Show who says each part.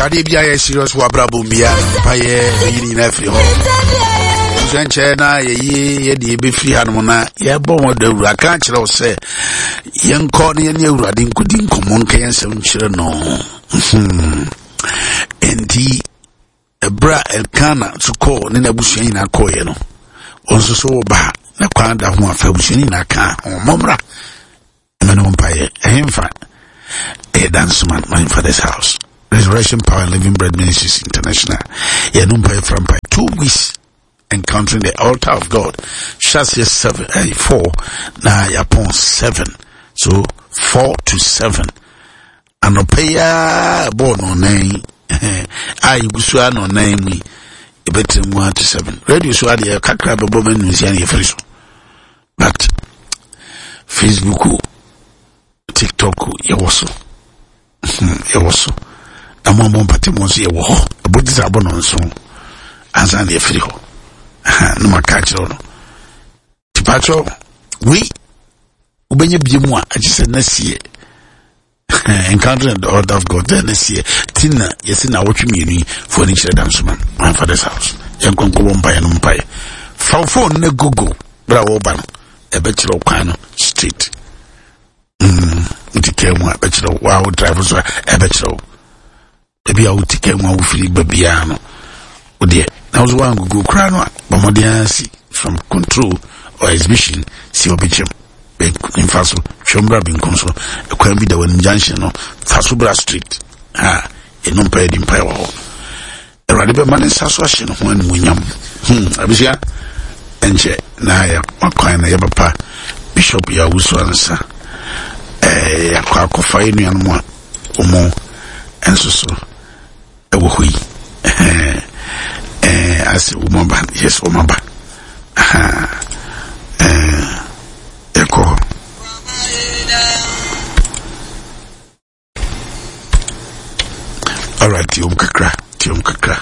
Speaker 1: Adeɛ bi ayɛ serious wɔ abrabɔ mu bia mpayɛ ɛyi ne nyinaa firi hɔ. Nhyɛ nkyɛn na yɛyi yɛde yɛbɛfiri hanom na yɛbɔ wɔn dawuro aka akyerɛ wo sɛ yɛnkɔ na yɛne awurade nkɔdi nkɔmmɔ nka yɛn nsɛm nkyerɛ no. Hmm. Enti ɛberɛ a Elkana nso kɔɔ ne n'abusua nyinaa kɔɔeɛ no, wɔn nso so wɔba na kwan da ho afa abusua no nyinaa kaa ho mmɔmmra ɛmɛ no mpaeɛ ɛhemfa ɛyɛ Dansoman my father's house Resurrection Power and Living Bread Ministries International yɛno mpaeɛ fra mpaeɛ 2 weeks encountering the altar of God hyɛ aseɛ 7 4 na yɛapɔn 7, so 4 to 7 anɔpa yi ara bɔɔ no ɔnan a yɛgu so a na ɔnan mu yi yɛbɛtena mu ato 7. Radio so adeɛ kakra bɛbɔ ma nnusia no yɛfiri so, but Facebook, TikTok yɛwɔ so, yɛwɔ so na mo a mo mpate mo nso yɛwɔ hɔ. Ɛbɔ gye sɛ abɔ no nso ansa na yɛfiri hɔ na maka akyerɛ wo no. Tipakyɛw wei wobɛnya bie mu a agye sɛ na sie encountering the order of God then this year ti na yɛsi na awɔtwe mmienu yi fo ani kyerɛ Dansoman my father's house. Yɛn nkɔnkɔ bɔ mpaeɛ no mpaeɛ. Fa wo phone ne Google bere a wɔreba no, ɛbɛkyerɛ wo kwan no straight. Nti kaa mu a ɛbɛkyerɛ wo, wa wo drive so a ɛbɛkyerɛ wo ebi a wote kaa mu a wofiri ba biara no wodeɛ na wo so woangogo koraa no a, bɔ mmɔden ara si from control or exhibition si ɔbɛkyɛm mfa so twɛm bra benkum so, ɛkwan bi da w'anim, junction no fa so bra street ha. Ɛno mpaeɛ di mpaeɛ wɔ hɔ. Awurade bɛma ne nsa so ahyɛ ne ho animuonyam. Abusua, ɛnkyɛ na yɛ kwan na yɛbɛpa Bishop Yawusu ansa yɛakɔ akɔfa yɛ nuanom a wɔn nso so ɛwɔ hɔ yi ɛɛ ase wɔn aba. Yes, wɔn aba. Ɛkɔ hɔ. Alright, tiom kakra, tiom kakra.